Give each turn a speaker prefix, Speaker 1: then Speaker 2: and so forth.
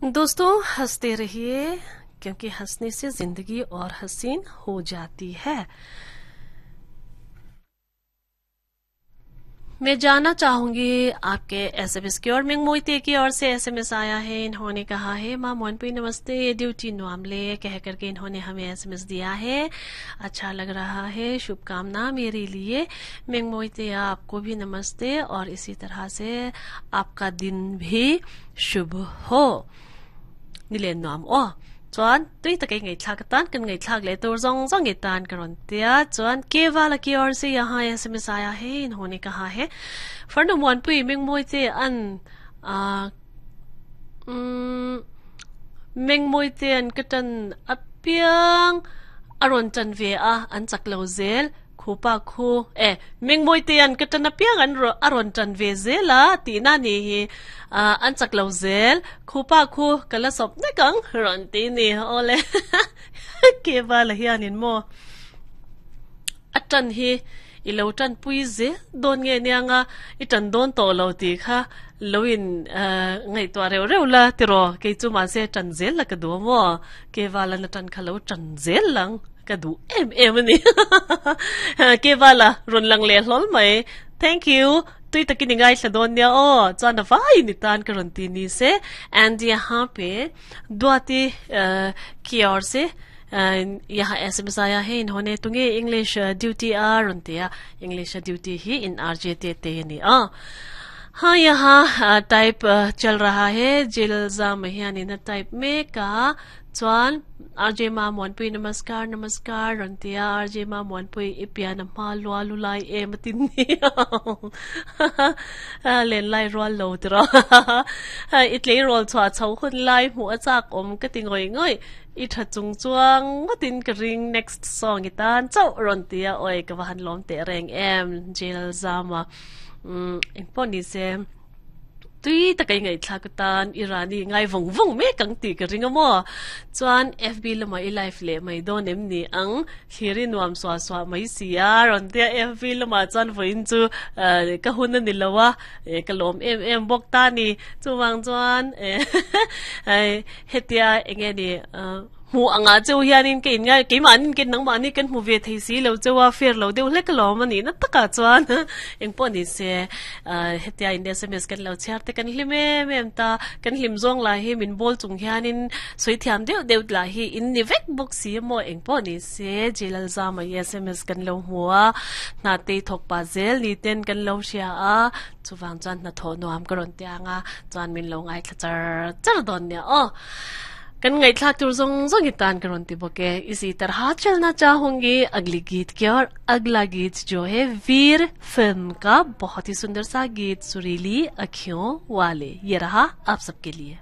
Speaker 1: दोस्तों हंसते रहिए क्योंकि हंसने से जिंदगी और हसीन हो जाती है। मैं जानना चाहूंगी आपके एसएमएस की और मिंग की ओर से एसएमएस आया है। इन्होंने कहा है माँ मोहनपुरी नमस्ते, ड्यूटी नुआमले कह करके इन्होंने हमें एसएमएस दिया है। अच्छा लग रहा है, शुभकामना मेरे लिए। मिंग मोहिते आपको भी नमस्ते और इसी तरह से आपका दिन भी शुभ हो। निले नुआम ओ chuan tui takai ngai thlak tan kan ngai thlak le tur zong zong nge tan karon tia chuan kewala ki or se yahan SMS aaya hai। इन्होंने कहा है फर्नो मोनpui ming moi te an a ming moi te an katan apiang aron chan ve a an chak lo zel khupa khu e ming moi te an katan apiang an ro aron chan ve zela ti na ni hi an chak lo zel khupa khu kala sop na kang ron ti ni ole ke ba la hianin mo atan hi ilo tan pui ze don nge nianga i tan don to lo ti kha loin ngai to reu reu la tiro ke chu ma se tan zel la ka du mo ke wala na tan khalo tan zel lang ka du em em ni ke wala ron lang le hlol mai. Thank you tui takin ngai thla don nia o chuan a vai ni tan ka ron ti ni se। And यहाँ पे दुआती की ओर से यहाँ SMS आया है। इन्होंने तुंगे English duty are रंतिया English duty he in R J ते ते ni आ। हाँ यहाँ टाइप चल रहा है जिलजा महियानी न टाइप में का chuan RJ ma monpui namaskar namaskar rantia RJ ma monpui ipian ma lua lu lai em tin ni len lai rol lo tro itle rol chwa chho hun lai mu achak om ka ti ngoi ngoi i tha chung chuang tin ka ring next song itan chau rantia oi ka han lom te reng em jil zama eng pon ni se tui takai ngai thlak tan irani ngai vong vong me kang ti ka ringa mo chuan FB lama i life le mai don em ni ang thiri nuam swa swa mai sia ron te FB lama chuan voin chu ka hun ani lowa ka lom em em bok ta ni chuwang chuan hetia enge ni mu anga cheu hianin ke in ngai ke manin ke nang mani kan mu ve thei si lo chewa fer lo deuh hlek lo mani na taka chuan eng pawh ni se hetia in SMS kan lo chhiar te kan hlim em em ta kan hlim zawng lai hi min ball chung hianin soi thiam deuh deuh la hi in ni vek bawk si maw eng pawh ni se jilal zama SMS kan lo hmua hna te thawk pa zel ni ten kan lo hria a chuwang chuan hna thaw nuam ka rawn tianga chuan min lo ngai thla char char dawn nia aw। kan ngai thlak tur zong zong itan karon ti boke। इसी तरह चलना चाहूंगी अगली गीत की और अगला गीत जो है वीर फिल्म का बहुत ही सुंदर सा गीत सुरीली अखियों वाले, ये रहा आप सबके लिए।